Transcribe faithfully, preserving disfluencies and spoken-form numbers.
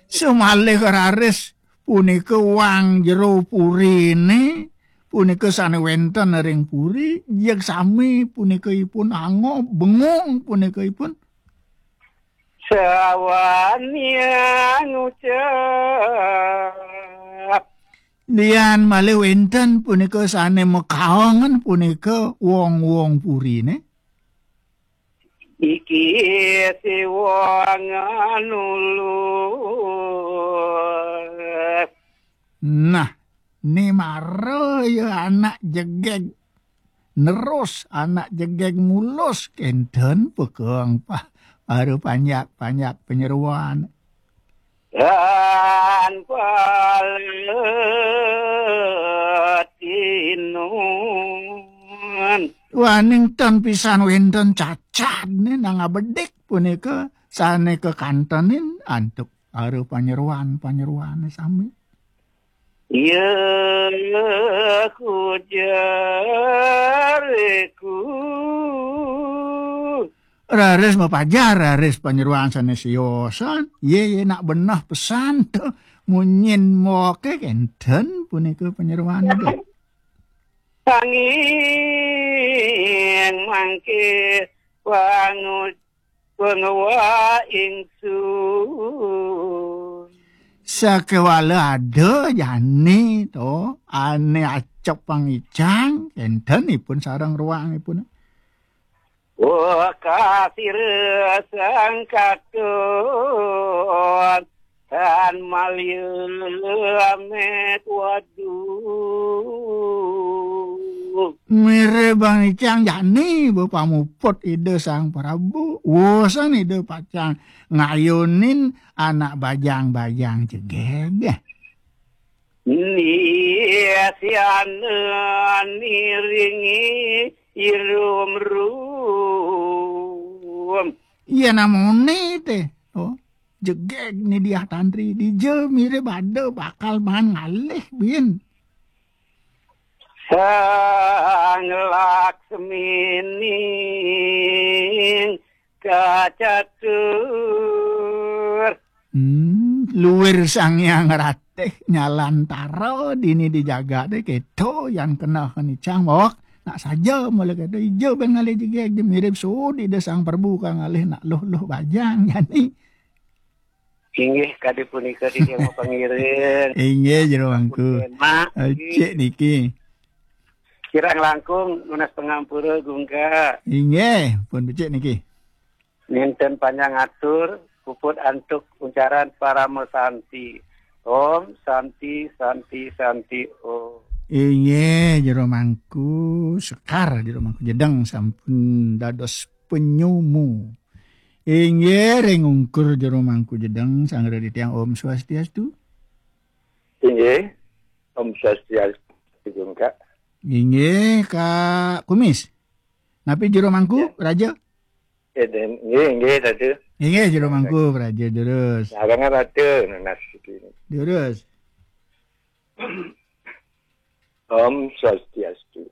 Semalih raris punika wang jero purine, punika sane wenten ring puri, jeg sami punika ipun angob, bengung punika ipun. Sawan yang ngucap. Lian malih wenten punika sane makaongen punika wong-wong purine. Iki siwang nulus. Nah, ni mara ya anak jegeg. Nerus anak jegeg mulus kenten pekeng pah. Baru panjak-panjak penyeruan. Dan paletinun. Waning ten pisan wenten cacad ni nang abedik punika sane kekantenin antuk para panyeruan-panyeruane sami. Ya kujareku. Raris mapajar, raris panyeruan sane siosan. Ye, ye nak beneh pesan to. Munyin moke kenten punika panyeruan ida. Sanging mangke pangu-, panguwa ingsun. Sakewala ada jani to, ane acep pangicang, kenten ipun sareng ruang ipun. Wah, kasira sang katon tan malih amet waduh. Mire bang icang jani bepamuput Ida Sang Prabu. Wosan Ida pacang ngayunin anak bajang-bajang jegeg. Ni siana niringi irum-rum. Iya namone te. Oh, jegeg ni diah tantri. Dija mirib ada bakal maan ngalih, bin. Sang Laksmining kacatur. Hmm, luir Sang Hyang Ratih nyalantara dini di jagate keto yan kena kenicang bawak. Nak saja mula keto ija ben ngalih jegeg je mirib sudi de Sang Prabu kang ngalih nak luh-luh bajang jani. Inggih kadi punika titiang mapangiring. Inggih, Jero Mangku. Punten, Mak. Becik niki. Kirang langkung nunas pangampura, Gungga. Inggih, pun becik niki. Ninten panjang atur, puput antuk uncaran parama santi. Om Santi, Santi, Santi, Om. Inggih, Jero Mangku Sekar, Jero Mangku Jedeng sampun dados penyumu. Inggih, ring ungkur Jero Mangku Jedeng, sangra titiang Om Swastiastu. Inggih, Om Swastiastu juga. Inggih, Kak Kumis. Napi Jero Mangku, Ya. Raja? Eh, den-, inggih, inggih, Ratu. Inggih, Jero Mangku, Raja Durus. Sarangan Ratu, nunas iki. Durus. Om Swastiastu.